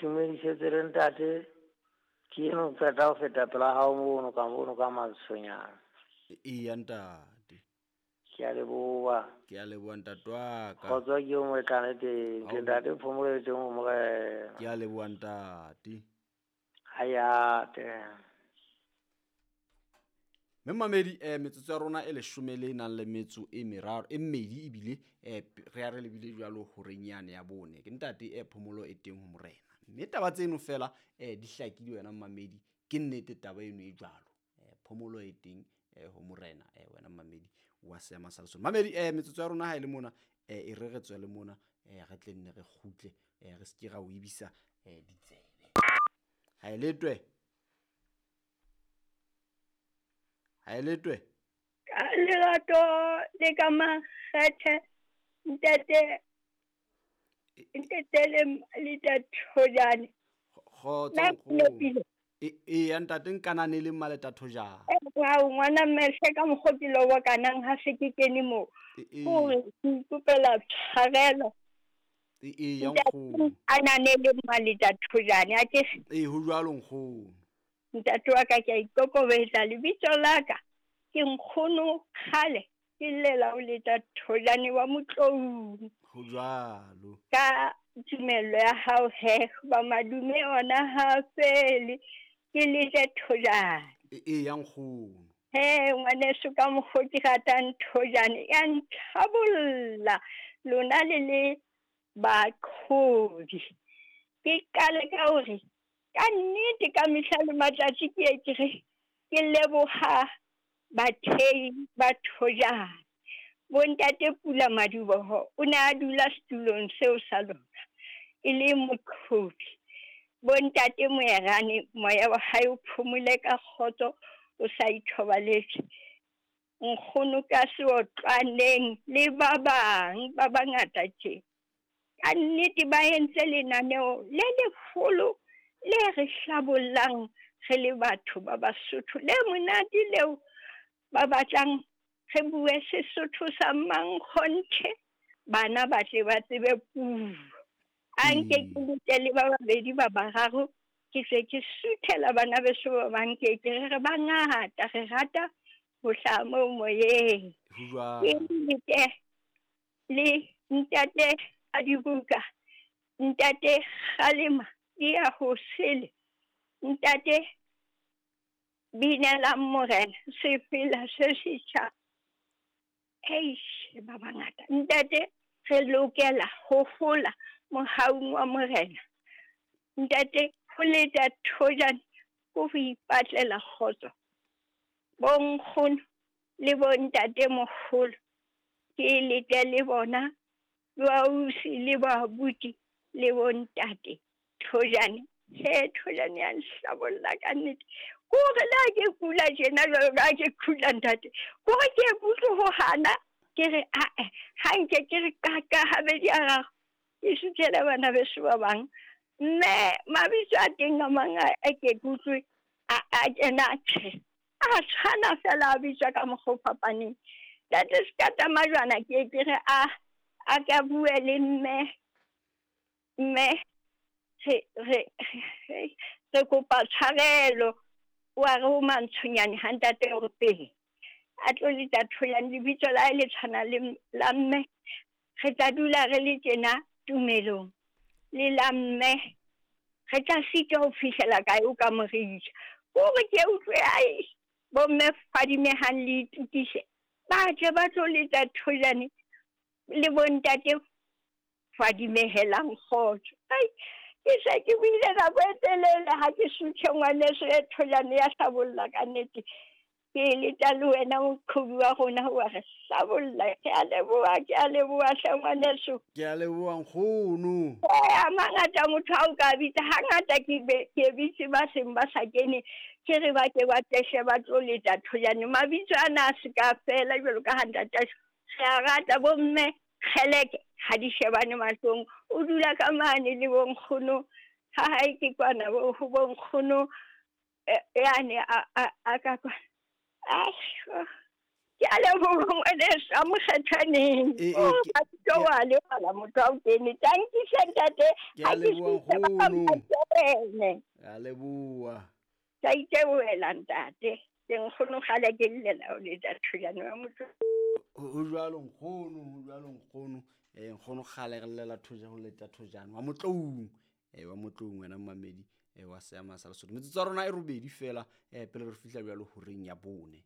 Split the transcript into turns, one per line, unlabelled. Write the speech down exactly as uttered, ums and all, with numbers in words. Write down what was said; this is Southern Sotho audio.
ntumedisetse le ntate ke eno qeta ho feta pela hao mono ka mono ka Matshonyana.
Eya ntate.
Ke a leboha.
Ke a leboha ntate wa ka.
Kgotso ke o motlane teng. Ke ntate Phomolo e teng ho morena.
Ke a leboha ntate.
Hayate.
Mme mamedi eh metsotso ya rona e leshome le nang le metso e meraro e mmedi ebile eh re a re lebile jwalo horeng yane ya bone. Ke ntate e Phomolo e teng ho morena. Mme taba tseno fela eh di hlakile wena mamedi, ke nnete taba eno e jwalo. Eh Phomolo e teng eh ho morena eh wena mamedi wa seema sa Lesotho. Mamedi eh metsotso ya rona ha ile mona eh e re re tswele mona eh re tle nne re kgutle eh re se ke ra o ibisa eh ditsebe. Ha e letwe. Ha e letwe.
Ka lerato le ka makgethe ntate ntate le le Thojane.
Kgotso nkgono. E ya ntate nkanane le Mmaleta Thojane.
E wa ngwana mme se ka mokgo ke lobo kanang ha se ke kene mo. Hore ke kopela tshwarelo.
E ya nkgono.
Anane le Mmaleta Thojane a ke.
E ho jwalo nkgono.
Ntate wa ka ke a ikokobetsa lebitso la ka ke nkgono kgale ke llela o leta Thojane wa Motloung.
Ho jwalo.
Ka tumello ya hao he ba madume ona ha fele ke lete Thojane.
E ya nkgono.
He ngwaneso ka mokgo ke ratang Thojane ya nthabolla lona le le baqhobi. Ke qale ka hore ka nnete ka mehla le matsatsi ke ye ke re ke leboha bathei ba Thojane. Bontate Pula Madiboho o ne a dula setulong seo sa lona e le moqhobi. Bontate Moerane moya wa hae o phomole ka kgotso o sa ithobaletse. Nkgono ka seotlwaneng le ba bang ba bangata tje. Ka nnete ba entse lenaneo le leholo le re hlabollang re le batho ba Basotho le monate leo ba batlang re bue Sesotho sa mankgonthe bana ba tle ba tsebe puo. A nke ke bute le ba babedi ba bararo ke se ke suthela bana beso ba bang ke ke re ba ngata re rata ho hlaha mo moyeng. Ke le ntate a dibuka ntate Kgalema ya ho sele ntate binela morena sefela se setjha. Eish ba bangata ntate re lokela ho hola mohaung wa morena. Ntate ho leta Thojane ko ho ipatlela kgotso. Bonkgono le bontate moholo ke lete le bona boausi le babuti le bontate Thojane. He Thojane ya nhlabolla ka nnete. Kore la ke kula tjena jwalo ka ke kula ntate. Kore ke kutlwe ho hana ke re ae ha nke ke re ka ka habedi a raro ke suthela bana beso ba bang. Mme mabitso a teng a mang a ke kutlwe a a kena tjhe. A tshwana fela a bitswa ka mokgwa o fapaneng. Ntate Sekata Majwana ke ke re a a ka bue le mme mme re re re kopa tshwarelo wa re o Mantshonyane ha ntate o re pele a tlo leta Thojane lebitso la hae le tshwana le la mme. Re tla dula re le tjena tumelong le la mme re tla sitwa ho fihlela kae o ka morija. Kore ke utlwe ai bomme fadimehang le itukise ba tle ba tlo leta Thojane le bontate fadimehelang kgotso. Ai ke se ke buile nako e telele ha ke suthe ngwaneso e Thojane ya hlabolla ka nnete. Ke leta le wena moqhobi wa rona wa re hlabolla. Ke a leboha, ke a leboha hle ngwaneso.
Ke a leboha nkgono.
A mangata motho ha o ka bitsa hangata ke be ke bitse ba seng ba sa kene ke re ba ke ba tehle ba tlo leta Thojane. Mabitso ana a se ka fela jwalo ka ha ntate re a rata bomme kgeleke ha di shebane mahlong. O dula ka mane le bonkgono ha hae ke kwana bo ho bonkgono yane a a ka kwana. Ai ke a leboha ngwaneso a mokgethaneng. O batho wa lebala motho ha o kene. Tanki hle ntate.
Ke a leboha nkgono.
Ene.
A leboha.
Ka itebohela ntate. Ke nkgono kgale ke llela ho leta thojane wa motho.
Ho jwalo nkgono, ho jwalo nkgono. Eh nkgono kgale re llela thoja ho leta thojane wa Motloung. Eh wa Motloung wena mmamedi eh wa seama sa Lesotho. Metsotso ya rona e robedi fela eh pele re fihla jwalo horeng ya bone.